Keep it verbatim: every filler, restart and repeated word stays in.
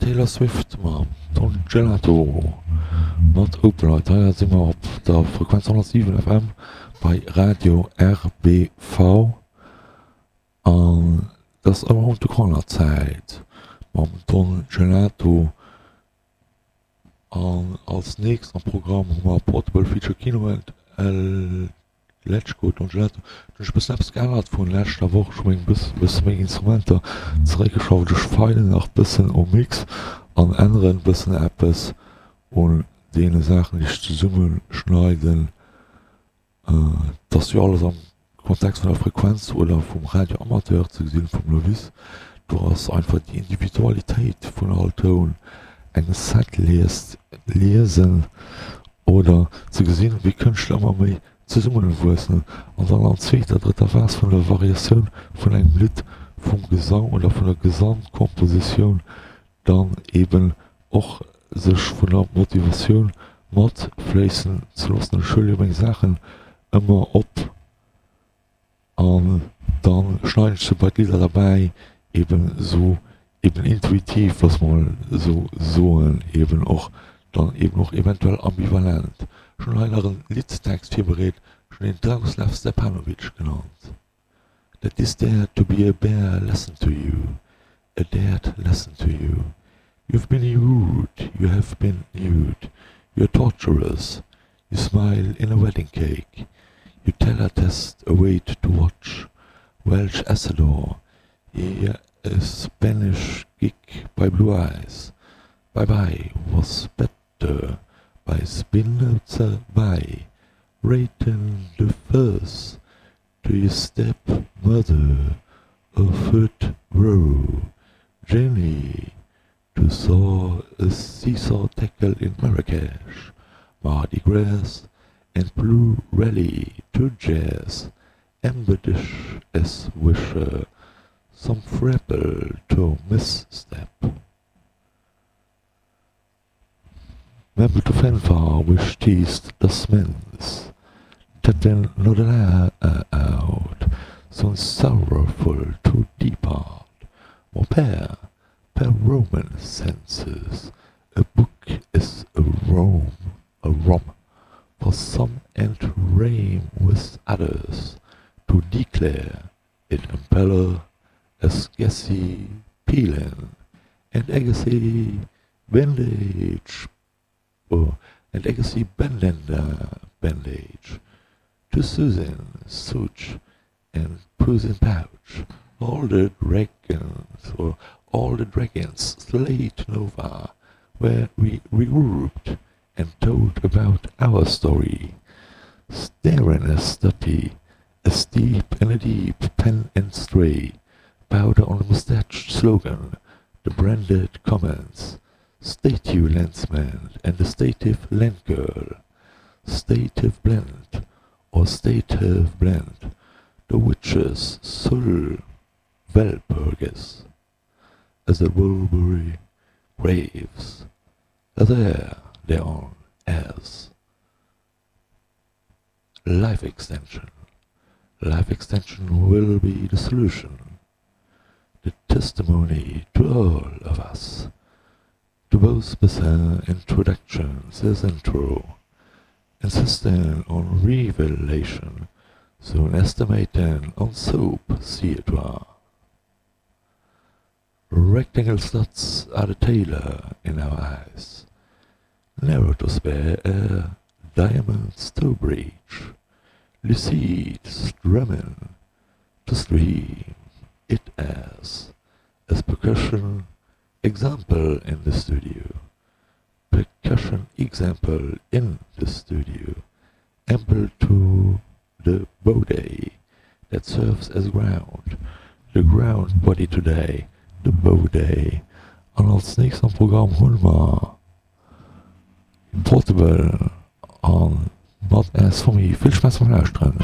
Taylor Swift mam Don Gelato mat Open Light. Hei si mer op der Frequenz honnertsiwen F M bei Radio R B V an dat ass Around the Corner Zäit mam Don Gelato. An als nächst am Programm hu mer Portable Feature Kino and El Letschko Don Gelato. Do hunn ech e bëssen eppes geännert vun leschter Woch. Ech hu meng bësse meng Instrumenter zeréckgeschrauft. Ech feilen nach bëssen um Mix an änneren bëssen eppes un deene Saachen, déi ech zesumme schneiden. Et ass jo alles am Kontext vun der Frequenz oder vum Radio Amateur ze gesinn, vum Novice. Do ass einfach déi Individualitéit vun all Toun, eng Setlist liesen oder ze gesinn, wéi Kënschtler ëmmer méi zesummewuessen an dann an zweeter, drëtter Phas vun der Variatioun vun engem Lidd, vum Gesang oder vun der Gesamtkompositioun dann eben och sech vun der Motivatioun matfléissen ze loossen. Ech huele jo meng Saachen ëmmer op an dann schneiden ech se bei d'Lidder derbäi, eben esou eben intuitiv, loosse mer mol esou soen, eben och dann eben och eventuell ambivalent. Ech hunn hei nach en Liddtext virbereet, ech hunn en Dragoslav Stepanovic genannt. That this dared to be a bare lesson to you, a dared lesson to you. You've been rude, you have been nude, you're torturous, you smile in a wedding cake, you teletest await to watch, Welsh Assador, yeah, a Spanish gig by Blue Eyes, Bye Bye was better by Spinoza by Rating the first to your stepmother of Foot Row, Jenny to saw a seesaw tackle in Marrakesh, Mardi Gras and Blue Rally to jazz, Amber dish as wisher, some frapple to misstep. Member to fanfare wish teased the smens, Tatin not allowed, so sorrowful to depart. Mon père, per Roman senses, a book is a Rome, a rom for some and rame with others, to declare it impeller as Gessi Pelin and Agassi bandage oh, and Agassi bandana bandage to Susan Such and Puss Pouch, all the dragons or all the dragons slayed Nova, where we regrouped and told about our story. Staring a stuppy, a steep and a deep pen and stray, powder on the mustache slogan, the branded comments, statue landsman and the stative landgirl, stative blend or stative blend, the witches sul Walpurgis, as the Wilbury graves, there thereon as life extension. Life extension will be the solution, the testimony to all of us. To both bizarre introductions is intro, insisting on revelation, soon estimating on soap theatre. Rectangle slots are the tailor in our eyes, narrow to spare air, diamonds to breach, lucid strumming to stream it as, as percussion example in the studio, percussion example in the studio, ample to the body that serves as ground, the ground body today, the body. An als nächst am Programm hunn mer Portable an Not As For Me. Vill Spaass beim Lauschteren.